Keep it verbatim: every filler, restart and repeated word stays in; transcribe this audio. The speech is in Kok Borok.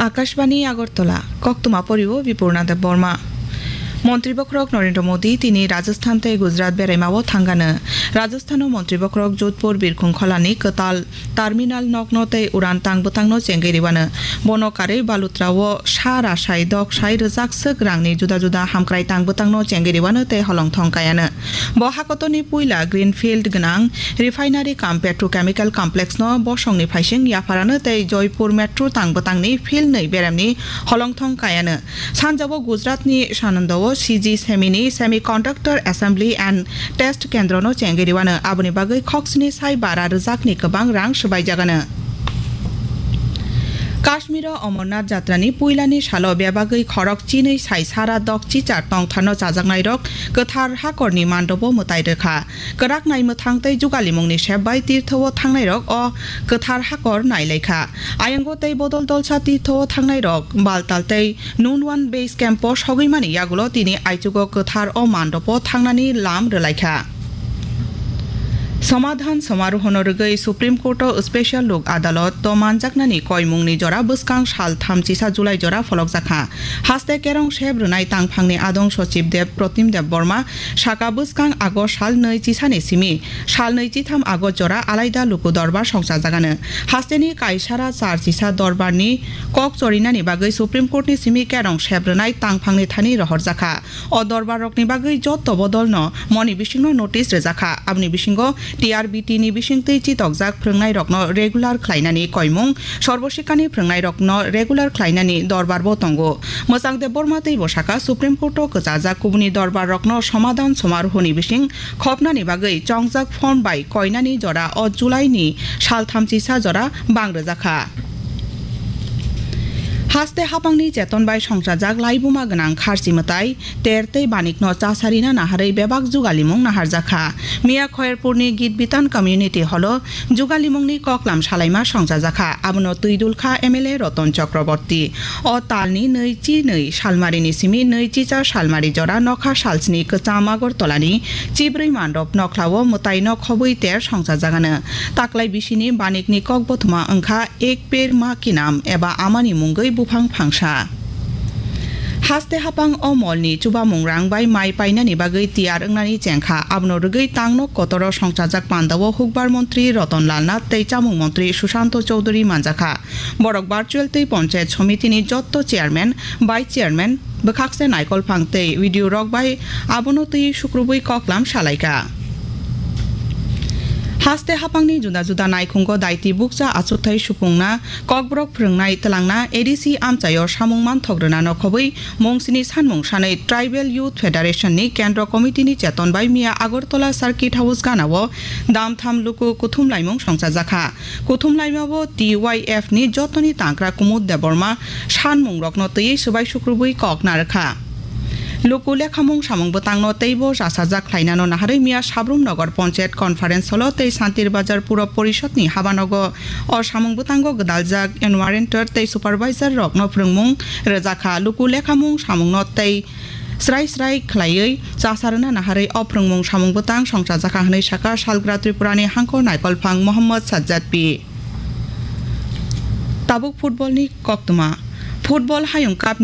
Akashbani Agartala, koktwma porio Bipurna Debbarma. Montri bokhorok Narendra Modi tini Rajasthan tei Gujarat beraimao thangano. Rajasthano montri bokhorok Jodhpur Birkhung Kholani kwtal terminal nokno tei uran tang bwtangno chengwi rwano. Bono karwi Balutrao sa rasai dok sai rwjak swk rangni juda juda hamkrai tang bwtangno chengwi rwano tei holongthong kaiano. Bo hakotorni puila Greenfield gwnang Refinery cum Petrochemical Complex no bosongni phaising yapharano tei Joypur Metro tang bwtangni philnwi beremni holongthong kaiano. Sanjao Gujaratni Sanandao C G Semini Semiconductor Assembly and Test Kendrono chengwi rwano, aboni bagwi khoksni sai bara rwjakni kwbang rang swbaijagano. Kashmiro Amarnath Jatrani puilani salo bebagwi khorok chinwi sai sara dok chichar tongtharno chajaknairok kwthar hakorni mandobo mwtai rwkha. Kwrak naimwthang tei jugalimungni sep bai tirthao thangnairok o kwthar hakor nailaikha. Ayango tei bodol dolsa tirthao thangnairok Baltal tei Nunwan Base Camp o sogwimani yagulo tini aichugo kwthar o mandopo thangnani lam rwlaikha. Somadhan somarohono rwgwi Supreme Court o Special Lok Adalot o manjaknani koimungni jora bwskang sal thamchisa July jora pholokjakha. Haste kerong sep rwnai tangphangni adong Sochib Dev Protim Dev Borma saka bwskang August sal nwi chisani simi sal nwi chitham August jora alaida luku dorbar songchajagano. Hasteni kaisara char chisa dorbarni kok chorinani bagwi Supreme Court ni simi kerong sep rwnai tangphangni thani rohorjakha. O dorbar rokni bagwi jotto bodolno moni bisingno notice rwjakha. Aboni bisingo T R B T ni bisingtwi chitokjak phrwngnairokno regular khlainani koimung, Sarvo Shikshani phrwngnairokno regular khlainani dorbarbo tongo. Mwchang Debbarma teibo saka Supreme Court o kwchajak kubuni dorbarrokno somadhan somarohoni bising khopnani bagwi chongjak form bai koinani jora o July ni sal thamchisa jora bang rwjakha. Haste hapangni cheton bai songchajak laibuma gwnang kharchi mwtai, ter tei banikno chasarina naharwi bebak jugalimung naharjakha. Miya Khoyerpurni Gitbitan Community Hall o jugalimungni koklam salaima songchajakha. Abono twi dulkha M L A Roton Chakraborty. O talni nwi chi nwi salmarini simi nwi chicha salmari jora nokha salsni kwcham Agartalani chibrwi mandop nokhlao mwtaino khobwi ter songchajagano. Taklai bisini banikni kokbothoma wngkha Ek Ped Maa Ke Naam eba amani mungwi buphang phangsa. Haste hapang o molni chubamung rang bai mai painani bagwi tiyar wngnani chengkha. Abono rwgwi tangnok kotoro songchajak pandao hukbar montri Roton Lal Nath tei chamung montri Sushanto Chowdhury manjakha. Borok virtual tei Panchayat Somitini jotto chairman, vice chairman, bwkhakse naikolphang tei video rok bai abono twi sukrubwi koklam salaikha. Haste hapangni juda juda naikhungo daiti bukcha achukthai supungna, kokborok phrwngnai twlangna A D C amchaio samung manthok rwna nokhobwi mungsini sanmung sanwi Tribal Youth Federation ni Kendro Committee ni cheton bai miya Agartala Circuit House ganao damtham luku kuthum laimung songchajakha. Kuthum laimao T Y F ni jotoni tangkra Kumud Debbarma sanmungrokno twiwi swbai sukrubwi kok narwkha. Luku lekhamung samung bwtangno teibo chasajak khlainano naharwi miya Sabrum Nagar Panchayat Conference Hall o tei Santir Bazar Puro Porishod ni habanogo o samung bwtango gwdaljak enumerator tei supervisor rokno phrwngmung rwjakha. Luku lekhamung samungno tei srai srai khlaiwi chasarwna naharwi o phrwngmung samung bwtang songchajakha hwnwi sakha Salgra Tripurani hangkor naikolphang Mohammad Sajjad P. Tabuk football ni koktwma. Football Hayung Cup ni